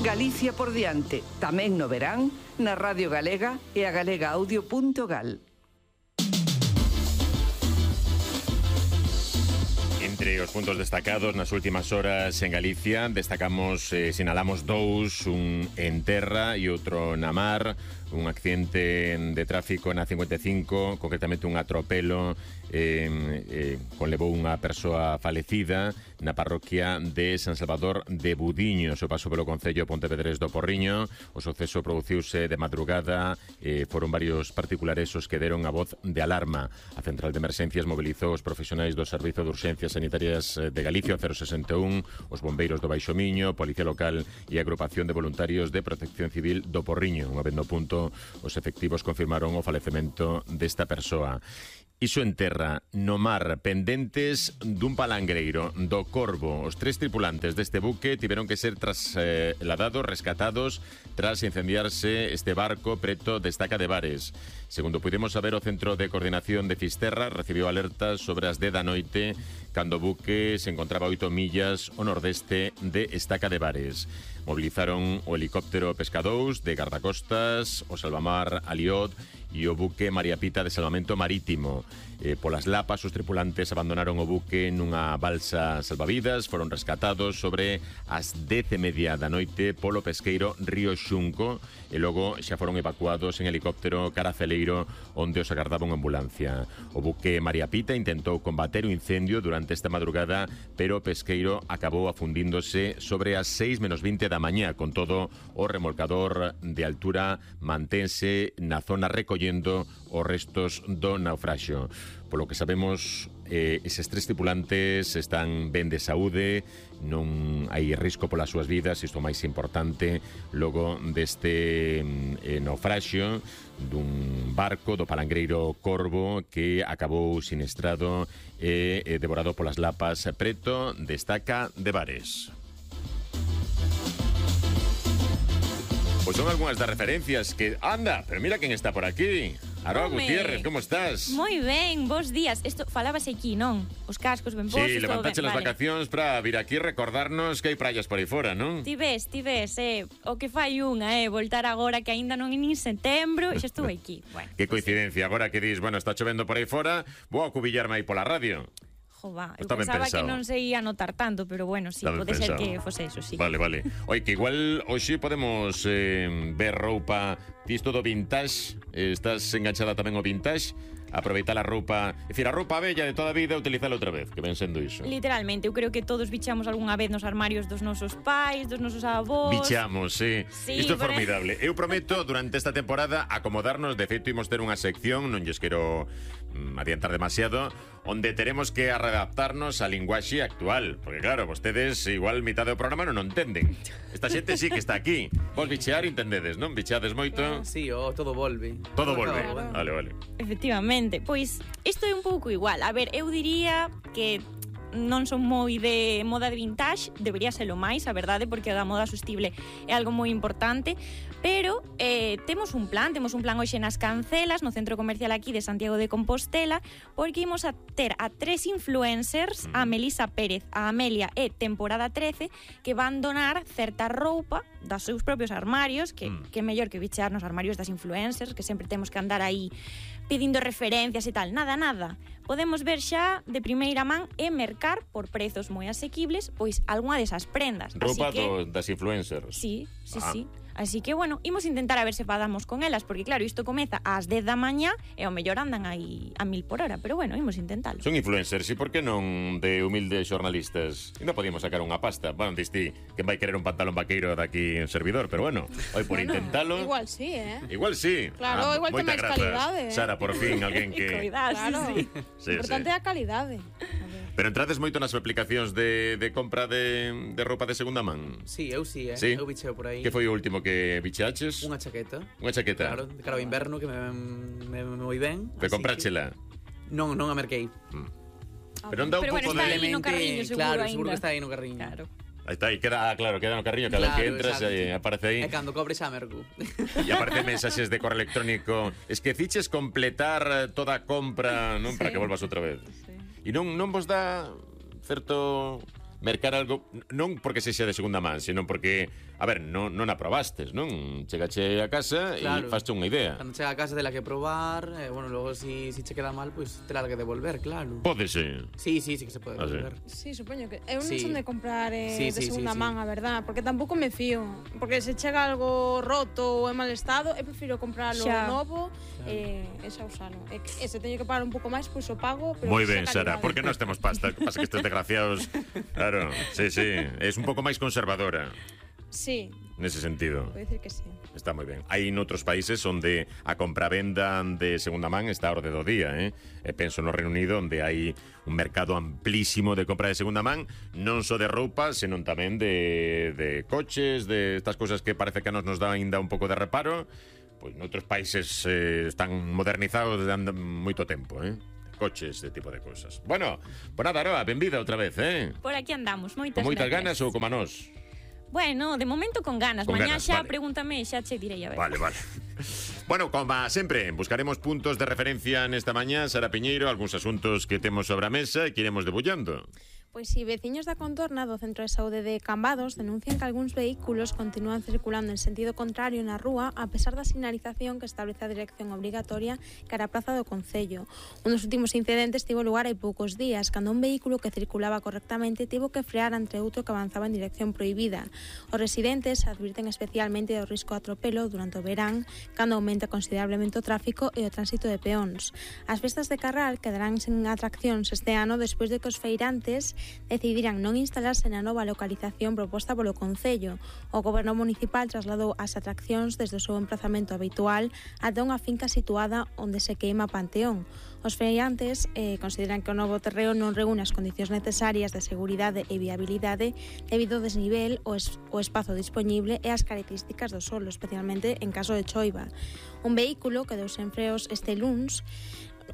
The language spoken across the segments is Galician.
Galicia por diante, tamén no verán, na Radio Galega e a galegaaudio.gal. Entre os puntos destacados nas últimas horas en Galicia destacamos, sinalamos dous, un en terra e outro na mar. Un accidente de tráfico na 55, concretamente un atropelo conlevou unha persoa falecida na parroquia de San Salvador de Budiños, o paso pelo concello Pontevedrés do Porriño. O suceso produciuse de madrugada, foron varios particulares os que deron a voz de alarma. A central de emerxencias mobilizou os profesionais do Servizo de Urxencias Sanitarias de Galicia, o 061, os bombeiros do Baixo Miño, Policía Local e a Agrupación de Voluntarios de Protección Civil do Porriño. Unha vez no punto, os efectivos confirmaron o falecemento desta persoa. Iso en terra, no mar, pendentes dun palangreiro do Corvo. Os 3 tripulantes deste buque tiveron que ser trasladados, rescatados, tras incendiarse este barco preto de Estaca de Bares. Segundo pudemos saber, o Centro de Coordinación de Fisterra recibiu alertas sobre as 10 da noite cando o buque se encontraba a 8 millas ao nordeste de Estaca de Bares. Movilizaron o helicóptero Pescadous de Gardacostas, o Salvamar Aliot e o buque María Pita de Salvamento Marítimo. Polas lapas, os tripulantes abandonaron o buque nunha balsa salvavidas, foron rescatados sobre as 10:30 da noite polo pesqueiro Río Xunco e logo xa foron evacuados en helicóptero cara a Celeiro, onde os agardaba unha ambulancia. O buque María Pita intentou combater o incendio durante esta madrugada, pero o pesqueiro acabou afundíndose sobre as 6:20 da mañá. Con todo, o remolcador de altura mantense na zona recollendo os restos do naufraxio. Polo que sabemos, eses 3 tripulantes están ben de saúde, non hai risco polas súas vidas, isto é o máis importante, logo deste naufraxio dun barco do palangreiro Corvo que acabou siniestrado e devorado polas lapas preto de Estaca de Bares. Pois son algunhas das referencias que... Anda, pero mira quen está por aquí. Aroa Gutiérrez, como estás? Moi ben, bons días. Isto falábase aquí, non? Os cascos ben postos. Sí, levantache as vacacións para vir aquí recordarnos que hai praias por aí fora, non? Ti ves, o que fai unha, voltar agora que aínda non é nin setembro e xa estuve aquí. Bueno, que coincidencia, agora que dis, bueno, está chovendo por aí fora, vou a cubillarme aí pola radio. Eu pensaba que non se ia notar tanto, pero bueno, sí, pode ser que fose eso, sí. Vale. Oi, que igual hoxe podemos ver roupa tisto do vintage. Estás enganchada tamén ao vintage. Aproveitar a roupa, é dicir, a roupa bella de toda a vida, utilizala outra vez, que ven sendo iso. Literalmente, eu creo que todos bichamos algunha vez nos armarios dos nosos pais, dos nosos avós. Bichamos, sí. Isto é formidable. Eu prometo durante esta temporada acomodarnos, de feito imos ter unha sección, non lles quero adiantar demasiado, onde teremos que adaptarnos á linguaxe actual, porque claro, vostedes igual mitad do programa non o entenden. Esta xente sí que está aquí. Vos bichear entendedes, non? Bicheades moito? Sí, todo volve. Todo volve. Vale. Efectivamente. Pois isto é un pouco igual. A ver, eu diría que non son moi de moda de vintage, debería serlo máis, a verdade, porque a moda sostible é algo moi importante, pero temos un plan hoxe nas Cancelas, no centro comercial aquí de Santiago de Compostela, porque imos a ter a 3 influencers, a Melisa Pérez, a Amelia e Temporada 13, que van donar certa roupa dos seus propios armarios, que mellor que bichear nos armarios das influencers, que sempre temos que andar aí pedindo referencias e tal. Nada. Podemos ver xa de primeira man e mercar por prezos moi asequibles pois algunha desas prendas. Roupa das influencers. Sí. Así que, bueno, imos intentar a ver se padamos con elas, porque claro, isto comeza ás 10 da mañá e ao mellor andan aí a 1000 por hora, pero bueno, imos intentalo. Son influencers, e por que non de humildes xornalistas? E non podíamos sacar unha pasta. Bueno, diste que vai querer un pantalón vaqueiro daqui en servidor, pero bueno, hoy por intentalo. Igual sí, Igual sí. Claro, igual ten máis calidade. Sara, por fin, alguén que... Claro, sí. Importante é a calidade. Pero entrades moito nas aplicacións de compra de roupa de segunda man? Sí, eu sí, Sí? Eu bicheo por aí. Que foi o último que bichaches? Unha chaqueta. Unha chaqueta? Claro, de cara ao inverno, que me moi ben. Te compráchela? Non a merquei. Pero non dá un pouco está aí no carriño, seguro, claro, ainda. seguro que está aí no carriño. Claro. Aí está, aí queda no carriño, cada vez que entras aparece aí. E cando cobre xa merco. E aparece mensaxes de correo electrónico. Esqueciches completar toda a compra, non? Para que volvas outra vez. Sí. E non vos dá certo mercar algo, non porque sexa de segunda man, senón porque, a ver, non a probastes, non? Chegache a casa e faste unha idea. Cando chega a casa tela que probar, bueno, logo si che queda mal, pois tela que devolver, claro. Pódese. Sí que se pode devolver. Sí, supoño que eu non Sí. son de comprar Sí, de segunda man, a verdad, porque tampouco me fío, porque se chega algo roto ou en mal estado, eu prefiro comprarlo novo e xa usalo. E se teño que pagar un pouco máis, pois o pago, pero Moi ben, xa Sara, calidade. porque nós temos pasta, pasa que estes desgraciados, claro, sí, es un pouco máis conservadora. Sí, Nese sentido. podo dicir que sí. Está moi ben. Hai noutros países onde a compravenda de segunda man está a orde do día, E penso no Reino Unido, onde hai un mercado amplísimo de compra de segunda man, non só de roupa, senón tamén de coches, de estas cousas que parece que a nos dá ainda un pouco de reparo. Pois noutros países están modernizados desde moito tempo, coches, este tipo de cousas. Bueno, pues nada, Aroa, benvida outra vez, Por aquí andamos, moitas Con moitas gracias. ganas ou como a nós? Bueno, de momento con ganas. Con Mañá ganas, xa vale. pregúntame, xa che direi, a ver. Vale. Bueno, como sempre, buscaremos puntos de referencia nesta mañá, Sara Piñeiro, algúns asuntos que temos sobre a mesa e que iremos debullando. Pois si, veciños da contorna do Centro de Saúde de Cambados denuncian que algúns vehículos continúan circulando en sentido contrario na rúa a pesar da sinalización que establece a dirección obrigatoria cara a Praza do Concello. Un dos últimos incidentes tivo lugar hai poucos días, cando un vehículo que circulaba correctamente tivo que frear ante outro que avanzaba en dirección prohibida. Os residentes advirten especialmente do risco de atropelo durante o verán, cando aumenta considerablemente o tráfico e o tránsito de peóns. As festas de Carral quedarán sen atraccións este ano despois de que os feirantes decidiran non instalarse na nova localización proposta polo Concello. O Goberno Municipal trasladou as atraccións desde o seu emplazamento habitual ata unha finca situada onde se queima Panteón. Os feirantes consideran que o novo terreo non reúne as condicións necesarias de seguridade e viabilidade debido ao desnivel, o espazo dispoñible e as características do solo, especialmente en caso de choiva. Un vehículo quedou sen freos este luns,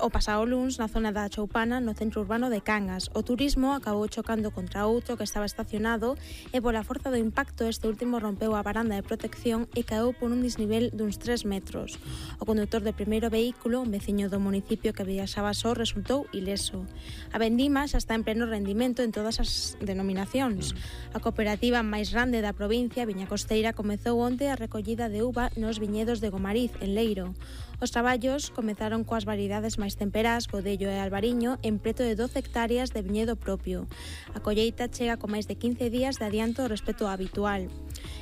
o pasado luns na zona da Choupana, no centro urbano de Cangas. O turismo acabou chocando contra outro que estaba estacionado e pola forza do impacto este último rompeu a varanda de protección e caeu por un desnivel duns 3 metros. O conductor do primeiro vehículo, un veciño do municipio que viaxaba só, resultou ileso. A vendima xa está en pleno rendimento en todas as denominacións. A cooperativa máis grande da provincia, Viña Costeira, comezou onte a recollida de uva nos viñedos de Gomariz, en Leiro. Os traballos comezaron coas variedades máis temperás, Godello e Albariño, en preto de 12 hectáreas de viñedo propio. A colleita chega con máis de 15 días de adianto respecto ao habitual.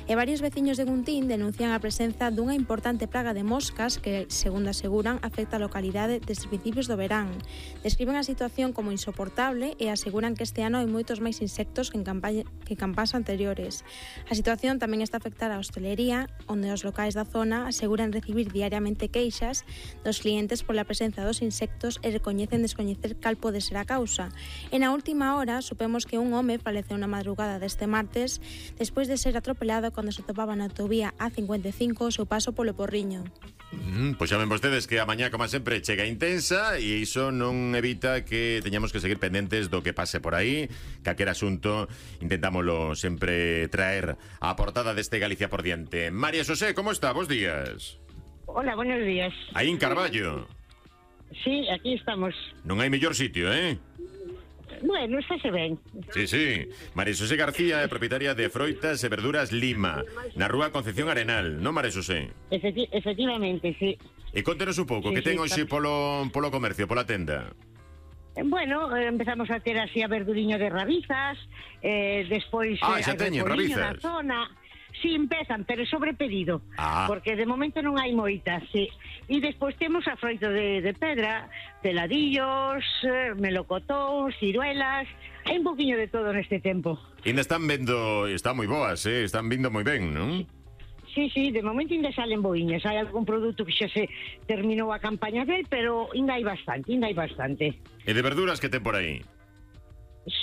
E varios veciños de Guntín denuncian a presenza dunha importante praga de moscas que, segundo aseguran, afecta a localidade desde principios do verán. Describen a situación como insoportable e aseguran que este ano hai moitos máis insectos que en campás anteriores. A situación tamén está a afectar a hostelería, onde os locais da zona aseguran recibir diariamente queixas dos clientes pola presenza dos insectos e recoñecen descoñecer cal pode ser a causa. E na última hora supemos que un home faleceu na madrugada deste martes despois de ser atropelado cando se topaba na autovía A55 o seu paso polo Porriño. Pois xa ven vostedes que a mañá, como sempre, chega intensa e iso non evita que teñamos que seguir pendentes do que pase por aí. Calquer asunto intentámoslo sempre traer á portada deste Galicia por diante. María Xosé, como está? Bos días. Hola, buenos días. Aí en Carballo. Sí, aquí estamos. Non hai mellor sitio, Bueno, está se ben. Sí. María Xosé García é propietaria de Froitas e Verduras Lima, na rúa Concepción Arenal, non, María Xosé? Efectivamente, sí. E contenos un pouco, que ten hoxe polo comercio, pola tenda? Bueno, empezamos a ter así a verduriño de rabizas, despois xa teñen repolliño rabizas. na zona. Sí, empezan, pero sobre pedido, porque de momento non hai moitas, sí. E despois temos a froito de pedra, peladillos, melocotóns, ciruelas, hai un poquinho de todo neste tempo. Ainda están vendo, están moi boas, están vindo moi ben, non? Sí, de momento ainda salen boiñas. Hai algún produto que xa se terminou a campaña del, pero ainda hai bastante. E de verduras que ten por aí?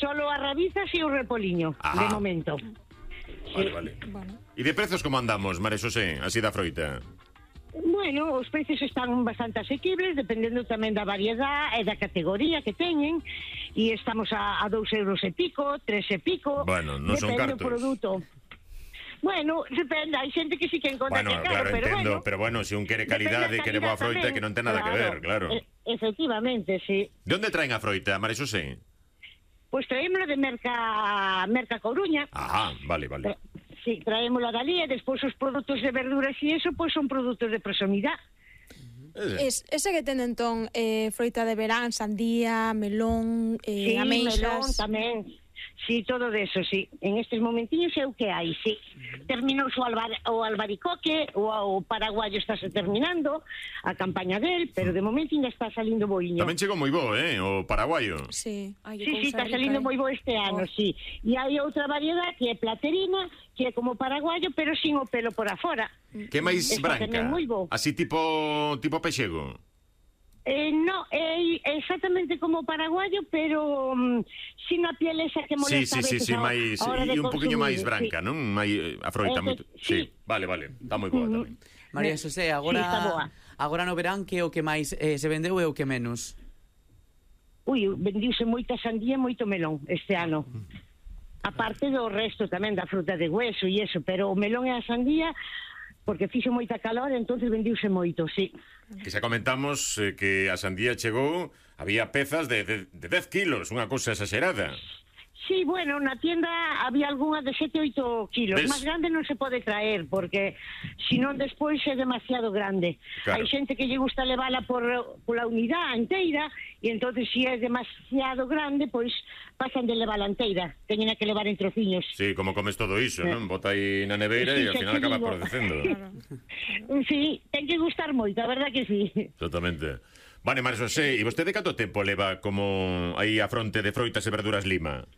Solo as rabizas e o repoliño, de momento. Vale. E de prezos como andamos, María Xosé, así da froita? Bueno, os precios están bastante asequibles, dependendo tamén da variedade e da categoría que teñen, e estamos a 2 euros e pico, 3 e pico. Bueno, non son cartos. Depende do produto. Bueno, depende, hai xente que sí que encontra que é caro, pero entendo, bueno. pero bueno, se un quere calidade, quere boa froita, que non ten nada que ver, claro. Efectivamente, sí. De onde traen a froita, María Xosé? Pois traémolo de Merca Coruña. Ajá, vale. Sí, traémolo dali e despois os produtos de verduras e eso, pois son produtos de proximidade. Ese que ten entón froita de verán, sandía, melón, ameixas... Sí, melón tamén. Sí, todo de eso, sí. En estes momentiños é o que hai, sí. Terminou o albaricoque, o paraguayo está se terminando, a campaña del, pero de momento ainda está salindo boiño. Tamén chegou moi bo, o paraguayo. Sí, sí, está salindo moi bo este ano, sí. E hai outra variedade que é platerina, que é como paraguayo, pero sin o pelo por afora. Que máis branca? Así tipo pexego? No, é exactamente como paraguayo, pero sin a piel esa que molesta. Sí, máis, e un poquinho máis branca, non? A froita moito. Sí, vale, está moi boa tamén. María Xosé, agora no verán, que o que máis se vendeu e o que menos? Vendiuse moita sandía e moito melón este ano. Aparte do resto tamén da fruta de hueso e eso, pero o melón e a sandía, porque fixo moita calor, entonces vendiuse moito, sí. Que xa comentamos que a sandía chegou, había pezas de 10 kilos, unha cousa exagerada. Sí, bueno, na tienda había algunha de 7 ou 8 kilos. Más grande non se pode traer, porque senón despois é demasiado grande. Claro. Hai xente que lle gusta levala pola unidade inteira, e entonces se é demasiado grande, pois pasan de levala inteira. Teñen que levar en trociños. Sí, como comes todo iso, non? Bota aí na neveira e ao final acaba producendo. Sí, ten que gustar moito, a verdad que sí. Exactamente. Vale, María Xosé, e vostede canto tempo leva como aí a fronte de froitas e verduras Lima?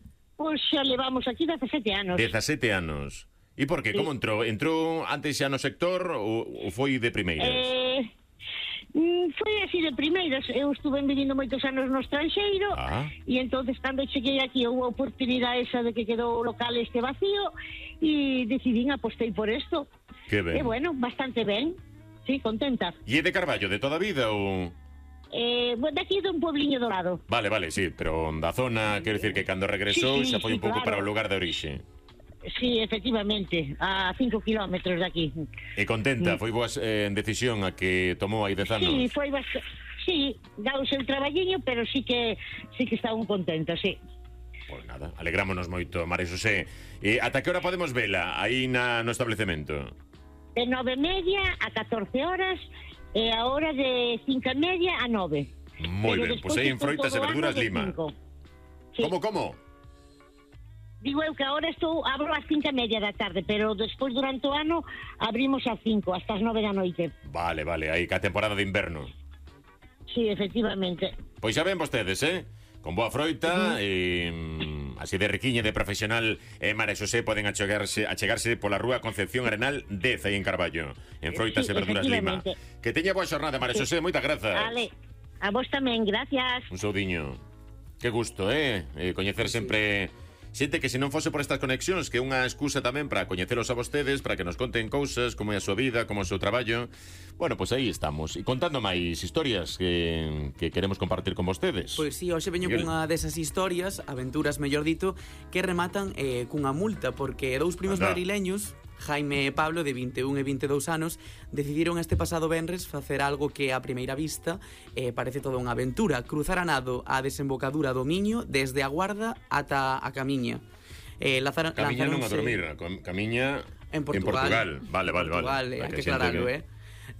Pois xa levamos aquí 17 anos. 17 anos. E por qué? Sí. Como entrou? Entrou antes xa no sector ou foi de primeiras? Foi así de primeiras. Eu estuve vivindo moitos anos no estranxeiro e entonces cando cheguei aquí houve a oportunidade esa de que quedou o local este vacío e decidín, apostei por isto. Que ben. E bueno, bastante ben. Sí, contenta. E é de Carballo de toda a vida ou...? De aquí de un puebliño dorado. Vale, sí, pero da zona, quero dicir que cando regresou xa foi un pouco para o lugar de orixe. Sí, efectivamente, a 5 kilómetros de aquí. E contenta, foi boa decisión a que tomou aí 10 anos? Sí, foi bastante... Sí, dá o seu traballiño, pero sí que estaban contentos, sí. Pois nada, alegrámonos moito, María Xosé. E ata que hora podemos vela aí no establecemento? De 9:30 a 14 horas... E a hora de 5:30 a 9. Moi ben, pois aí en Froitas e Verduras Lima. Sí. Como? Digo eu que agora abro ás 5:30 da tarde, pero despois durante o ano abrimos ás 5, hasta as 9 da noite. Vale, aí que a temporada de inverno. Sí, efectivamente. Pois xa ven vostedes, con boa froita así de riquiña de profesional, María Xosé poden achegarse pola rúa Concepción Arenal 10 aí en Carballo, en Froitas e Verduras Lima. Que teña boa xornada, María Xosé, moitas grazas. Vale, a vos tamén, gracias. Un saudiño. Que gusto, coñecer sempre xente que se non fose por estas conexións, que é unha excusa tamén para coñecelos a vostedes, para que nos conten cousas, como é a súa vida, como é o seu traballo. Bueno, pois aí estamos, e contando máis historias que queremos compartir con vostedes. Pois sí, hoxe veño cunha desas historias, aventuras, mellor dito, que rematan cunha multa, porque dous primos madrileños, Jaime e Pablo, de 21 e 22 anos, decidiron este pasado venres facer algo que a primeira vista parece toda unha aventura: cruzar a nado a desembocadura do Miño desde a Guarda ata a Camiña. Camiña non a dormir, Camiña en Portugal. Vale. Hai que aclararlo,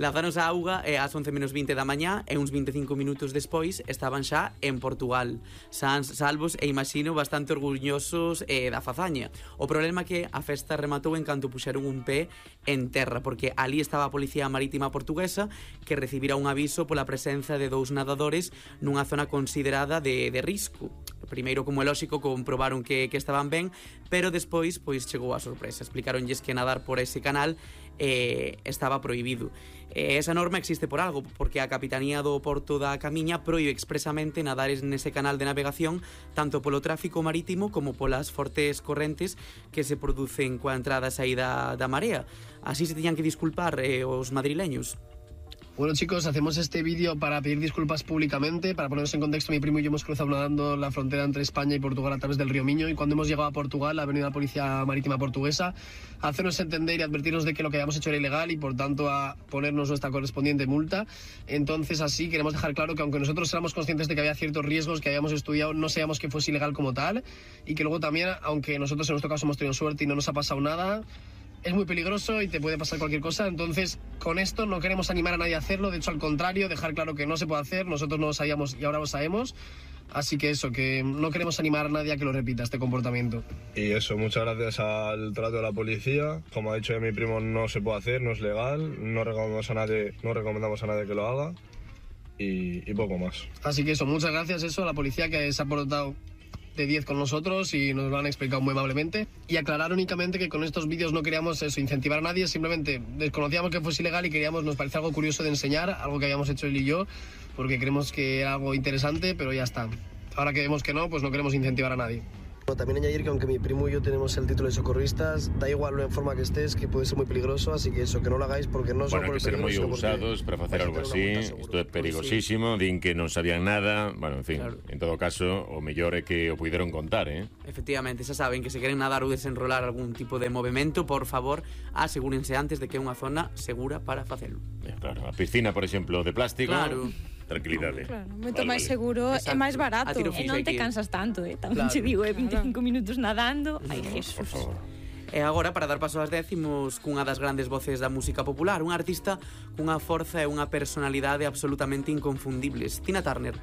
Lanzáronse a auga ás 11:20 da mañá e uns 25 minutos despois estaban xa en Portugal, salvos e imagino bastante orgullosos da fazaña. O problema é que a festa rematou en canto puxeron un pé en terra, porque ali estaba a Policía Marítima Portuguesa, que recibira un aviso pola presenza de 2 nadadores nunha zona considerada de risco. Primeiro, como é lóxico, comprobaron que estaban ben, pero despois pois chegou a sorpresa. Explicaronlles que nadar por ese canal estaba prohibido. Esa norma existe por algo, porque a Capitanía do Porto da Camiña proíbe expresamente nadar nese canal de navegación tanto polo tráfico marítimo como polas fortes correntes que se producen coa entrada e saída da marea. Así se tiñan que disculpar os madrileños. Bueno, chicos, hacemos este vídeo para pedir disculpas públicamente. Para ponernos en contexto, mi primo y yo hemos cruzado nadando la frontera entre España y Portugal a través del río Miño, y cuando hemos llegado a Portugal ha venido la policía marítima portuguesa a hacernos entender y advertirnos de que lo que habíamos hecho era ilegal y por tanto a ponernos nuestra correspondiente multa. Entonces, así queremos dejar claro que aunque nosotros éramos conscientes de que había ciertos riesgos que habíamos estudiado, no sabíamos que fuese ilegal como tal, y que luego también, aunque nosotros en nuestro caso hemos tenido suerte y no nos ha pasado nada, es muy peligroso y te puede pasar cualquier cosa. Entonces, con esto no queremos animar a nadie a hacerlo, de hecho al contrario, dejar claro que no se puede hacer. Nosotros no lo sabíamos y ahora lo sabemos, así que eso, que no queremos animar a nadie a que lo repita, este comportamiento. Y eso, muchas gracias al trato de la policía. Como ha dicho mi primo, no se puede hacer, no es legal, no recomendamos a nadie que lo haga, y poco más. Así que eso, muchas gracias a la policía, que se ha portado de 10 con nosotros y nos lo han explicado muy amablemente. Y aclarar únicamente que con estos vídeos no queríamos incentivar a nadie, simplemente desconocíamos que fuese ilegal y nos parecía algo curioso de enseñar, algo que habíamos hecho él y yo, porque creemos que era algo interesante, pero ya está. Ahora que vemos que no, pues no queremos incentivar a nadie. También añadir que aunque mi primo y yo tenemos el título de socorristas, da igual en forma que estés, que puede ser muy peligroso, así que eso, que no lo hagáis porque no son por el peligro. Bueno, hay que ser moi ousados para facer algo así. Isto é perigosísimo, din que non sabían nada. Bueno, en fin, en todo caso, o mellor é que o puideron contar, Efectivamente, xa saben que se queren nadar ou desenrolar algún tipo de movimento, por favor, asegúrense antes de que é unha zona segura para facelo. Claro, a piscina, por exemplo, de plástico. Claro. Tranquilidade. Claro, moito máis seguro e máis barato. E non te cansas tanto, tamén te digo, 25 minutos nadando. Ai, Jesús. Por favor. E agora, para dar paso ás décimos, cunha das grandes voces da música popular, un artista cunha forza e unha personalidade absolutamente inconfundibles, Tina Turner.